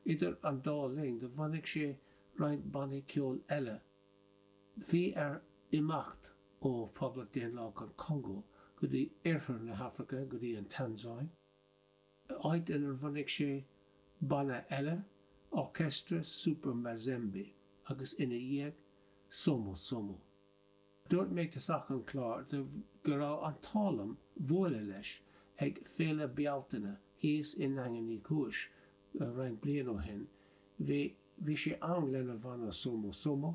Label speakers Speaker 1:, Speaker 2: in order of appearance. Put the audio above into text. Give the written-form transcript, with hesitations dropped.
Speaker 1: Idir an dá linn do bhunaigh sé roinnt bannaí ceoil eile. Bhí air imeacht ó Phoblacht Daonlathach an Chongó go dtí oirthear na hAfraice, go dtí an Tansáin, áit inar bhunaigh sé banna eile, Orchestre Super Mazembe, agus ina dhiaidh, Somo Somo. Dúirt mé ag tosach an chláir go raibh an t-ádh liom bualadh leis ag Féile Bealtaine thíos i nDaingean Uí Chúis roinnt bliain ó shin. Bhí bhí sé ann lena bhanna Somo Somo.